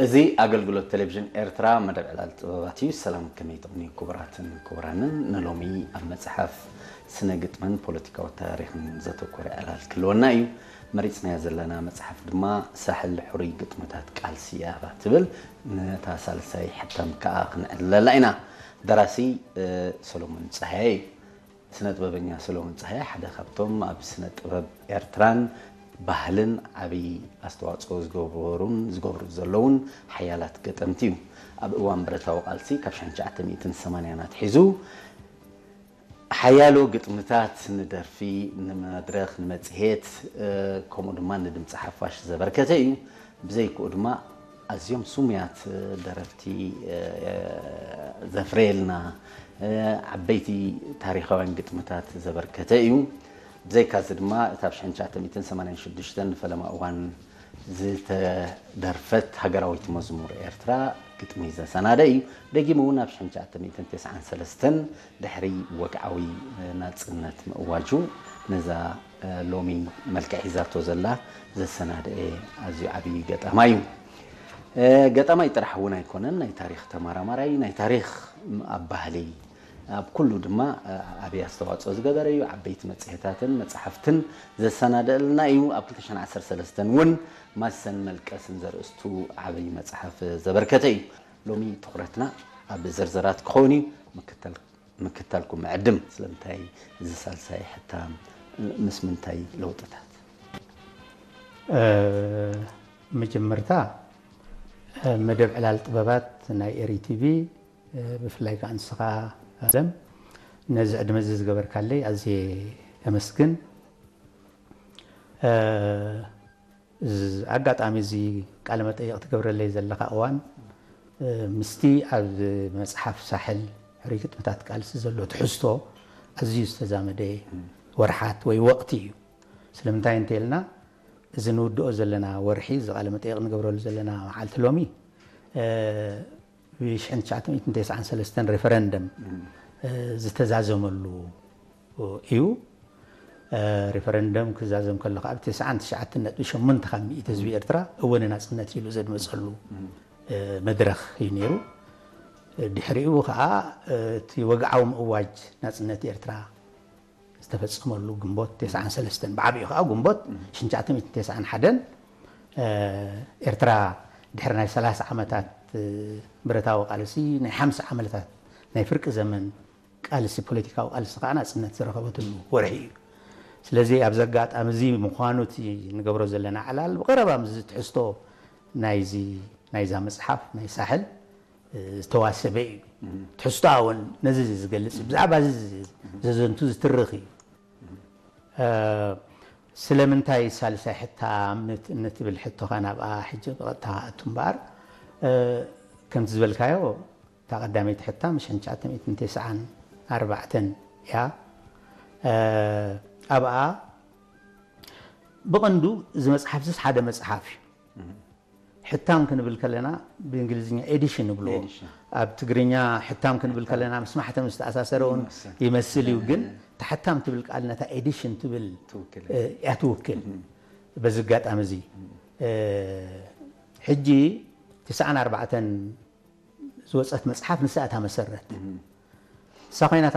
እዚ ኣገልግሎት ቴሌቪዥን ኤርትራ መደብ ዕላል ጥበባት እዩ። ሰላም፣ ከመይ ትቕኒ ክቡራትን ክቡራንን? ንሎሚ ኣብ መጽሓፍ፣ ስነ ግጥምን ፖለቲካዊ ታሪኽን ዘተኮረ ዕላል ክህልወና እዩ። መሪጽናያ ዘለና መጽሓፍ ድማ ሳሕል ሕሩይ ግጥምታት ቃልሲ እያ ትብል። ነታ ሳልሳይ ሕታም ከኣ ክንዕልለላ ኢና። ደራሲ ሰሎሞን ጸሃየ እዩ። ስነ ጥበበኛ ሰሎሞን ጸሃየ ሓደ ካብቶም ኣብ ስነ ጥበብ ኤርትራን ባህልን ዓብዪ ኣስተዋጽኦ ዝገበሩን ዝገብሩ ዘለውን ሓያላት ገጠምቲ እዩ። ኣብ እዋን ብረታዊ ቃልሲ ካብ ሽሕን ትሽዓተ ሚእትን ሰማንያን ኣትሒዙ ሓያሎ ግጥምታት ንደርፊ፣ ንመድረኽ፣ ንመጽሔት፣ ከምኡ ድማ ንድምፂ ሓፋሽ ዘበርከተ እዩ። ብዘይክኡ ድማ ኣዝዮም ስሙያት ደረፍቲ ዘፍረየልና፣ ዓበይቲ ታሪኻውያን ግጥምታት ዘበርከተ እዩ። ብዘይካዚ ድማ እታ ብ ሽሕን ትሽዓተ ሚእትን ሰማንያን ሽዱሽተን ንፈለማ እዋን ዝተደርፈት ሃገራዊት መዝሙር ኤርትራ ግጥሚ ዘሰናደ እዩ። ደጊሙ እውን ኣብ ሽሕን ትሽዓተ ሚእትን ተስዓን ሰለስተን ድሕሪ ወግዓዊ ናጽነት ምእዋጁ ነዛ ሎሚ መልክዕ ሒዛቶ ዘላ ዘሰናደኤ ኣዝዩ ዓብዪ ገጣማይ እዩ። ገጣማይ ጥራሕ እውን ኣይኮነን፣ ናይ ታሪኽ ተመራማራይ፣ ናይ ታሪኽ ኣብ ባህሊ ኣብ ኩሉ ድማ ዓብዪ ኣስተዋፅኦ ዝገበረ እዩ። ዓበይቲ መፅሄታትን መፅሓፍትን ዘሰናደኣልና እዩ። ኣብ ክልተ ሽሕን ዓሰርተ ሰለስተን እውን ማሰን መልቀስን ዘርእስቱ ዓብዪ መፅሓፍ ዘበርከተ እዩ። ሎሚ ትኹረትና ኣብ ዝርዝራት ክኸውን እዩ። ምክታል ምክታልኩም ምዕድም። ስለምንታይ እዚ ሳልሳይ ሕታም? ምስ ምንታይ ለውጥታት? መጀመርታ መደብ ዕላል ጥበባት ናይ ኤሪ ቲቪ ብፍላይ ከዓ ንስኻ ኣለም ነዚ ዕድመ እዚ ዝገበርካለይ ኣዝየ የመስግን። ኣጋጣሚ እዚ ቃለ መጠይቕ ትገብረለይ ዘለኻ እዋን ምስቲ ኣብ መፅሓፍ ሳሕል ሕሩይ ግጥምታት ቃልሲ ዘሎ ትሕዝቶ ኣዝዩ ዝተዛመደ ወርሓት ወይ ወቕቲ እዩ። ስለምንታይ እንተልና እዚ ንውድኦ ዘለና ወርሒ፣ እዚ ቃለ መጠይቕ ንገብረሉ ዘለና መዓልቲ ሎሚ ብ ሽሕን ትሽዓተ ሚእትን ተስዓን ሰለስተን ሬፈረንደም ዝተዛዘመሉ እዩ። ሪፈረንደም ክዛዘም ከሎ ከዓ ብ ተስዓን ትሽዓተን ነጥቢ ሸሞንተ ካብ ሚእቲ ህዝቢ ኤርትራ እወ ንናፅነት ኢሉ ዘድመፀሉ መድረኽ እዩ ነይሩ። ድሕሪኡ ከዓ እቲ ወግዓዊ ምእዋጅ ናፅነት ኤርትራ ዝተፈፀመሉ ግንቦት ተስዓን ሰለስተን፣ ብዓብኡ ከዓ ግንቦት ሽሕን ትሽዓተ ሚእትን ተስዓን ሓደን ኤርትራ ድሕሪ ናይ ሰላሳ ዓመታት ብረታዊ ቃልሲ ናይ ሓምሳ ዓመታት ናይ ፍርቂ ዘመን ቃልሲ፣ ፖለቲካዊ ቃልሲ ከዓ ናፅነት ዝረኸበትሉ ወርሒ እዩ። ስለዚ ኣብዚ ኣጋጣሚ እዚ ምዃኑ እቲ ንገብሮ ዘለና ዕላል ብቐረባ ምስዚ ትሕዝቶ ናይዚ ናይዛ መፅሓፍ ናይ ሳሕል ዝተዋሰበ እዩ። ትሕዝቶኣ እውን ነዚ ዝገልፅ እዩ። ብዛዕባ እዚ ዘዘንቱ ዝትርኽ እዩ። ስለምንታይ ሳልሳይ ሕታም ንትብል ሕቶኻ ናብኣ ሕጂ ብቐጥታ ክኣቱ እምበኣር ከምቲ ዝበልካዮ እታ ቀዳመይቲ ሕታም ሽሕን ትሽዓተ ሚእትን ተስዓን ኣርባዕተን እያ። ኣብኣ ብቐንዱ እዚ መፅሓፍ እዚስ ሓደ መፅሓፍ እዩ። ሕታም ክንብል ከለና ብእንግሊዝኛ ኤዲሽን ንብልዎ። ኣብ ትግርኛ ሕታም ክንብል ከለና ምስ ማሕተም ዝተኣሳሰረ እውን ይመስል እዩ፣ ግን እታ ሕታም ትብል ቃል ነታ ኤዲሽን ትብል እያ ትውክል። በዚ ኣጋጣሚ እዚ ሕጂ ትስዓን ኣርባዕተን ዝወፀት መፅሓፍ ንሳ እታ መሰረት። ንሳ ኮይና